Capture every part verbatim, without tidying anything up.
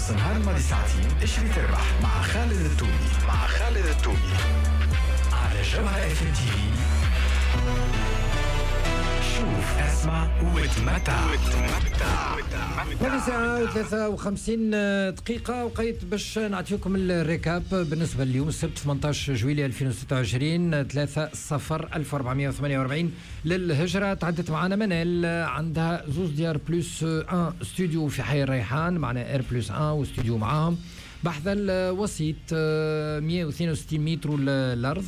نص نهار الماضي ساعتين، اشري تربح مع خالد التومي، مع خالد التومي على جوهرة اف ام تي في. شوف، اسمع وتمتع. ثمانية ساعة وثلاثة وخمسين دقيقة، وقيت باش نعطيكم ال récap بالنسبة لليوم السبت ثمنطاش جويلية ألفين وستة وعشرين، ثلاثة صفر ألف وأربعمية وثمانية وأربعين للهجرة. تعدت معنا منال، عندها زوز ديار plus un studio في حي الريحان، معنا R plus un و studio معاهم بحذا الوسيط، مية واثنين وستين متر الارض،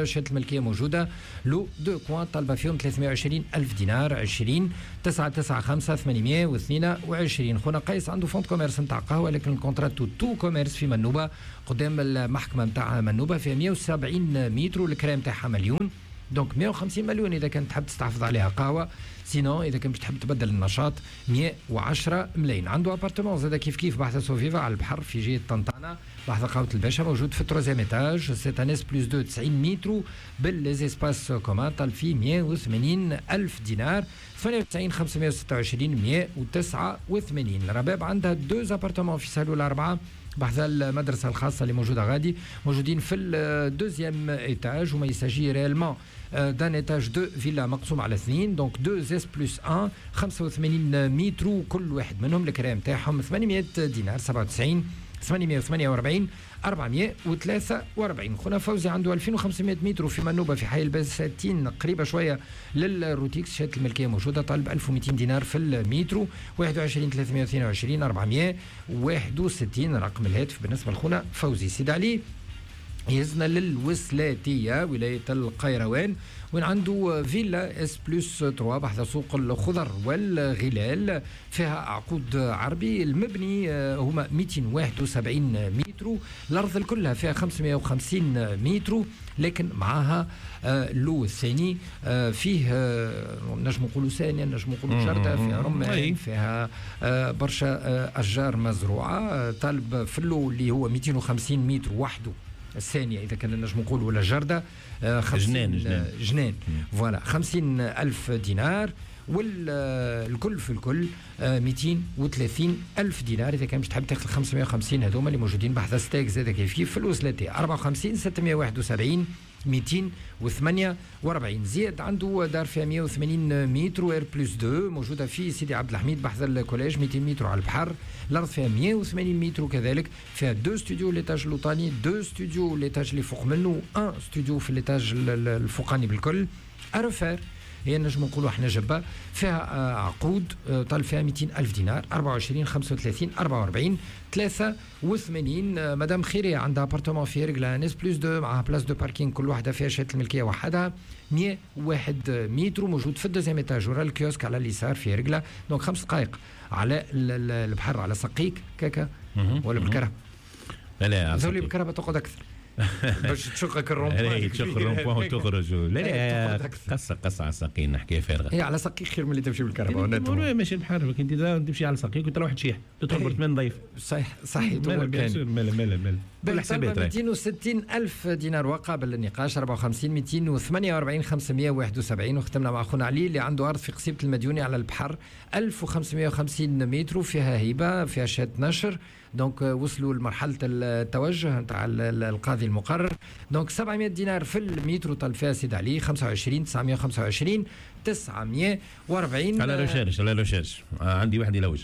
شهادة الملكية موجوده، lot deux coins، طالبه فيهم ثلاثمية وعشرين الف دينار، عشرين تسعة تسعة خمسة ثمانمية واثنين وعشرين. خونا قيس عنده fonds de commerce نتاع قهوه، لكن ال contrat tout commerce في منوبه قدام المحكمة نتاع منوبه، فيها مية وسبعين متر، الكرا متاعها مليون، donc مية وخمسين مليون اذا كنت تحب تستحفظ عليها قهوه، sinon اذا كنت تحب تبدل النشاط مية وعشرة ملايين. عنده appartement زاد كيف كيف بحذا سوفيفا على البحر في جهة طنطانا بحذا قهوة الباشا، موجود في ال troisième étage، c'est un S plus deux، تسعين متر بال les espaces communs، طالب فيه مية وثمانين الف دينار، ثمانية وتسعين خمسمية وستة وعشرين مية وتسعة وثمانين. رباب عندها deux appartements في سهلول أربعة بحذا المدرسة الخاصة اللي موجودة غادي، موجودين في ال deuxième étage، وما il s'agit réellement d'un étage de villa مقسوم على اثنين، donc deux S plus un، خمسة وثمانين متر كل واحد منهم، الكرا متاعهم ثمانمية دينار، سبعة وتسعين ثمانمية وثمانية وأربعين أربعمية وثلاثة وأربعين. خونا فوزي عنده ألفين وخمسمية متر في منوبة في حي البساتين، قريبة شوية للروتيكس، شهادة الملكية موجودة، طالب ألف ومئتين دينار في المترو، واحد وعشرين ثلاثمية واثنين وعشرين أربعمية وواحد وستين رقم الهاتف بالنسبة لخونا فوزي. سيد علي يهزنا للوسلاتية ولاية القيروان، وين عنده فيلا S plus ثلاثة بحذا سوق الخضر والغلال، فيها عقود عربي، المبني آه، هما ميتين وواحد وسبعين متر، الارض كلها فيها خمسمية وخمسين متر، لكن معاها آه، lot الثاني آه، فيه نجم نقولوا سانية، نجم نقولوا جردة فيها رمان، فيها برشا اشجار مزروعه. طالب في ال lot اللي هو ميتين وخمسين متر وحده السانية إذا كان نجم نقول ولا جردة. جنان. جنان. جنان، voilà، خمسين ألف دينار، والكل في الكل ميتين وثلاثين ألف دينار إذا كان مش تحب تاخذ خمسمية وخمسين هذوما اللي موجودين بحذا ستاغ زاد كيف كيف في الوسلاتي، أربعة وخمسين ستمية وواحد وسبعين ميتين وثمانية وأربعين. زياد عنده دار فيها مية وثمانين متر R plus اثنين، موجودة في سيدي عبد الحميد بحذا ال collège، ميتين متر على البحر، الارض فيها مية وثمانين متر كذلك، فيها deux studios l'étage اللوطاني، deux studios l'étage اللي فوق منه، un studio في l'étage الفوقاني بالكل، à refaire هي نجم نقولوا احنا جبه، فيها آه، عقود، آه، طالب فيها ميتين ألف دينار، أربعة وعشرين خمسة وثلاثين أربعة وأربعين ثلاثة وثمانين. مدام خيرية عندها appartement في رجلة un S plus اثنين معها place de parking، كل واحدة فيها شهادة الملكية وحدها، مية وواحد متر، موجود في ال deuxième étage ورا الكيوسك على اليسار في رجلة، donc خمس دقائق على البحر على سقيك كاكا ولا بالكرهبة؟ لا لا. ذولي بالكرهبة تقعد اكثر باش تشقك ال rond-point، تشق ال rond-point وتخرج. لا لا، قصة قصة على الساقين، حكاية فارغه. هي على ساقيك خير من اللي تمشي بالكرهبة. ماشي البحر، انت تمشي على ساقيك وتروح تشيح، تدخل برتمان نظيف. صحيح صحيح. مالا مالا مالا. كل حسابات. ميتين وستين ألف دينار وقابل للنقاش، أربعة وخمسين ميتين وثمانية وأربعين خمسمية وواحد وسبعين. وختمنا مع أخونا علي اللي عنده أرض في قصيبة المديوني على البحر، ألف وخمسمية وخمسين متر، فيها هبة، فيها شهادة نشر، donc وصلوا لمرحلة التوجه نتاع القاضي المقرر، donc سبعمية دينار في المتر طالب فيها سيد علي، خمسة وعشرين تسعمية وخمسة وعشرين تسعمية وأربعين. à la recherche، à la recherche، عندي واحد يلوج.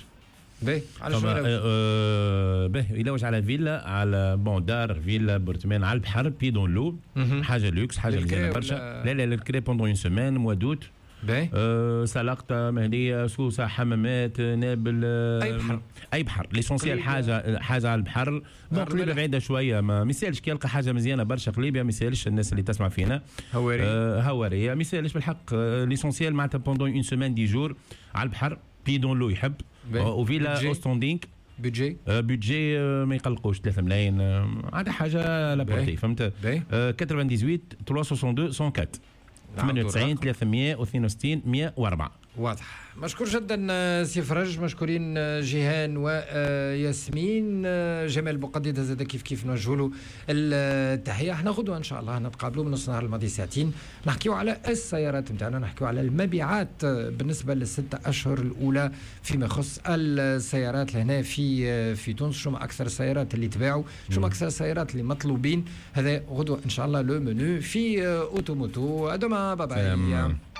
باهي، على شنو؟ آه باهي، يلوج على فيلا، على bon دار فيلا appartement على البحر، pied dans l'eau، حاجة لوكس، حاجة مزيانه برشا. لا لا، الكري pendant une semaine، mois d'août. باهي. أه سلقطة، مهدية، سوسة، حمامات، نابل. اي بحر. اي بحر، l'essentiel حاجة حاجة على البحر. bon، قليبية بعيدة شوية، ما يسالش، كي يلقى حاجة مزيانة برشا قليبية ما يسالش، الناس اللي تسمع فينا. هوارية. أه هوارية ما يسالش بالحق، l'essentiel معناتها pendant une semaine، dix jours على البحر، pied dans l'eau يحب، و villa haut standing. budget؟ budget ما يقلقوش، ثلاثة ملايين، عاد حاجة à la portée، فهمت؟ ثمانية وثمانين ثلاثمية واثنين وستين مية وأربعة، ثمانية وتسعين ثلاثمية واثنين وستين مية وأربعة. واضح. مشكور جدا سي فرج، مشكورين جيهان وياسمين، جمال بوقديدة زاد كيف كيف نوجه له التحيه. احنا غدوه ان شاء الله نتقابلوا من نص نهار الماضي ساعتين، نحكيو على السيارات نتاعنا، نحكيو على المبيعات بالنسبة للستة اشهر الاولى فيما يخص السيارات لهنا في في تونس، شو ما اكثر السيارات اللي تباعوا، شو ما اكثر السيارات اللي مطلوبين. هذا غدوه ان شاء الله le menu في Auto Moto. à demain، bye bye.